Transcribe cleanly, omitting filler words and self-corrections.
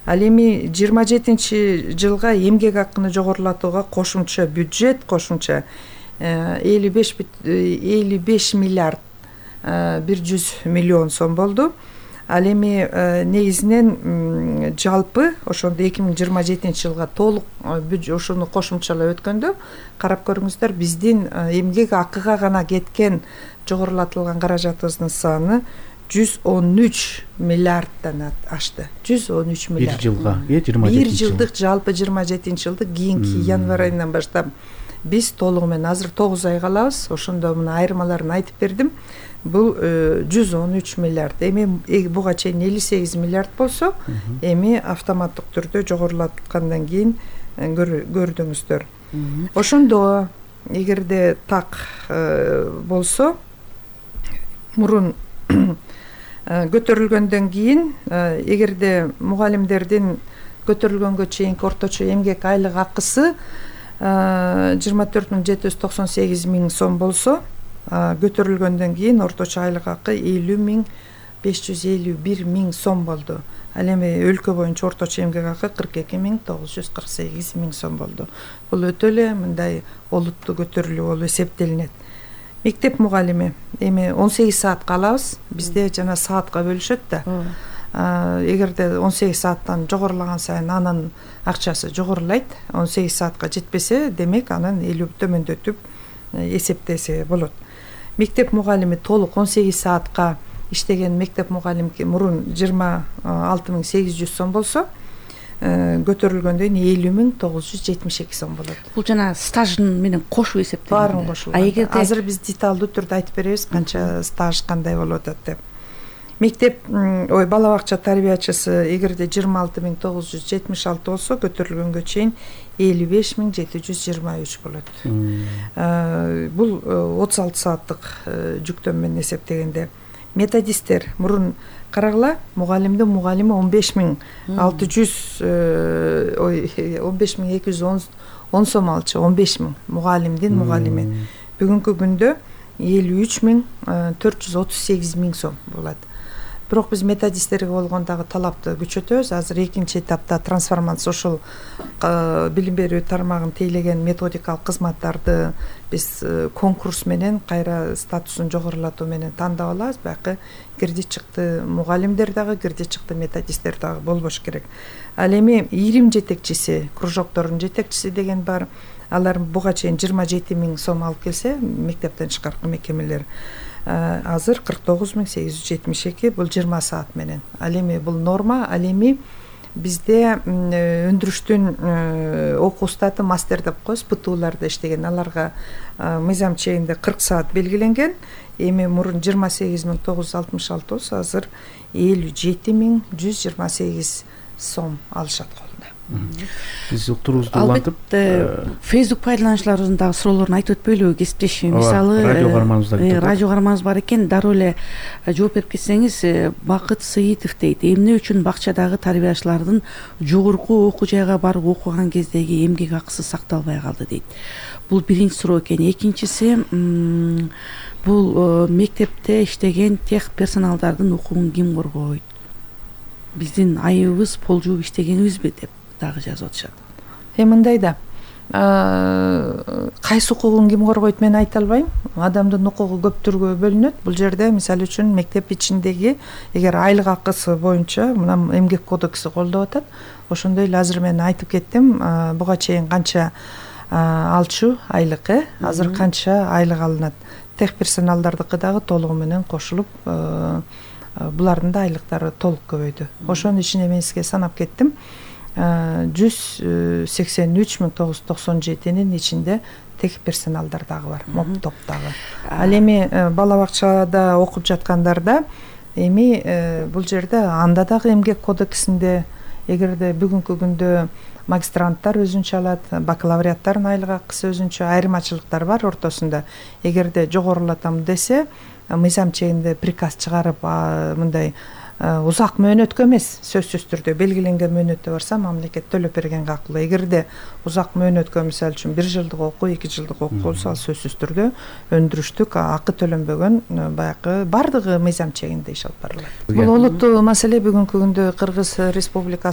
Ал эми 27-жылга эмгек акыны жогорулатууга кошумча бюджет, кошумча 55 миллиард 100 миллион сом болду. Ал эми негизинен жалпы ошондо 2027-жылга толук ошону кошумчалап өткөндө карап көрүңүздөр, биздин эмгек акыга гана кеткен жогорулатылган каражатыбыздын саны 113 миллиарддан ашты. 113 миллиард. Бир жылга, 27 бир жылдык жалпы 27-жылдык кийинки январь айынан баштап биз толугу менен азыр 9 ай калабыз. Ошондо мына айырмаларын айтып бердим. Бул 113 миллиард. Эми буга чейин 58 миллиард болсо, эми автоматтык түрдө жогорулаткандан кийин көрдүңүздөр. Ошондо эгерде так болсо, мурун көтөрүлгөндөн кийин, эгерде мугалимдердин көтөрүлгөнгө чейинки орточо эмгек айлык акысы 24,798 миң сом болсо, көтөрүлгөндөн кийин орточо айлык акы 50,551 миң сом болду. Ал эми өлкө боюнча орточо эмгек акы 42,948 миң сом болду. Бул өтө эле мындай олуттуу көтөрүлүү болуп эсептелинет. Мектеп мугалими эми 18 саатка алабыз. Бизде жана саатка бөлүшөт да. Эгерде 18 сааттан жогорулаган сайын анын акчасы жогорулайт. 18 саатка жетпесе, демек анан 50 төмөндөтүп эсептесе болот. Мектеп мугалими толук 18 саатка иштеген мектеп мугалимки мурун 26,800 сом болсо, көтөрүлгөндөн 50,972 сом болот. Бул жана стажын менен кошуп эсептелет. Баарын кошулган. Азыр биз деталдуу түрдө айтып беребиз канча стаж кандай болуп атат деп. Мектеп бала бакча тарбиячысы эгерде 26,976 болсо, көтөрүлгөнгө чейин 55,723 болот. Бул 36 сааттык жүктөм менен эсептегенде. Методисттер мурун карагыла, мугалимдин мугалими 15,210 сом алчу, 15 миң мугалимдин мугалими. Бүгүнкү күндө 53,438 миң сом болот. Бирок биз методисттерге болгон дагы талапты күчөтөбүз. Азыр экинчи этапта трансформация, ошол билим берүү тармагын тейлеген методикалык кызматтарды биз конкурс менен кайра статусун жогорулатуу менен тандап алабыз. Бияка кирди чыкты мугалимдер дагы, кирди чыкты методисттер дагы болбош керек. Ал эми ирим жетекчиси, кружоктордун жетекчиси деген бар. Алар буга чейин 27 миң сом алып келсе, мектептен тышкаркы мекемелер азыр 49,872, бул 20 саат менен. Ал эми бул норма. Ал эми бизде өндүрүштүн окуу статы мастер деп коебуз, ПТУларда иштеген, аларга мыйзам чегинде 40 саат белгиленген. Эми мурун 28,966 болсо, азыр 57,128 сом алышат колуна. Биз уктуруубузду улантып, Facebook пайдалануучуларыбыздын дагы суроолорун айтып өтпөйлүбү, кесиптешим? Мисалы, радио карманыбыз бар экен, дароо эле жооп берип кетсеңиз. Бакыт Сыйтов дейт: эмне үчүн бакчадагы тарбиячылардын жогорку окуу жайга барып окуган кездеги эмгек акысы сакталбай калды дейт. Бул биринчи суроо экен. Экинчиси, бул мектепте иштеген тех персоналдардын укугун ким коргойт? Биздин айыбыбыз полжууп иштегенибизби деп дагы жазып атышат. Мындай да, кайсы укугун ким коргойт мен айта албайм. Адамдын укугу көп түргө бөлүнөт. Бул жерде мисалы үчүн мектеп ичиндеги эгер айлык акысы боюнча мына эмгек кодекси колдоп атат. Ошондой эле азыр мен айтып кеттим, буга чейин канча алчу айлык, азыр канча айлык алынат. Тех персоналдардыкы дагы толугу менен кошулуп, булардын да айлыктары толук көбөйдү. Ошонун ичине мен сизге санап кеттим. 183,997-нин ичинде тех персоналдар дагы бар, моп топ дагы. Ал эми бала бакчада окуп жаткандарда эми бул жерде анда дагы эмгек кодексинде эгерде бүгүнкү күндө магистранттар өзүнчө алат, бакалавриаттардын айлык акысы өзүнчө, айырмачылыктар бар ортосунда. Эгерде жогорулатам десе, мыйзам чегинде приказ чыгарып, мындай узак мөөнөткө эмес, сөзсүз түрдө белгиленген мөөнөттө барса мамлекет төлөп берген кактылуу. Эгерде узак мөөнөткө, мисалы үчүн 1 жылдык окуу, 2 жылдык окуу болсо, ал сөзсүз түрдө өндүрүштүк акы төлөнбөгөн, баягы бардыгы мыйзам чегинде иш алып барылат. Бул олуттуу маселе. Бүгүнкү күндө Кыргыз Республикасы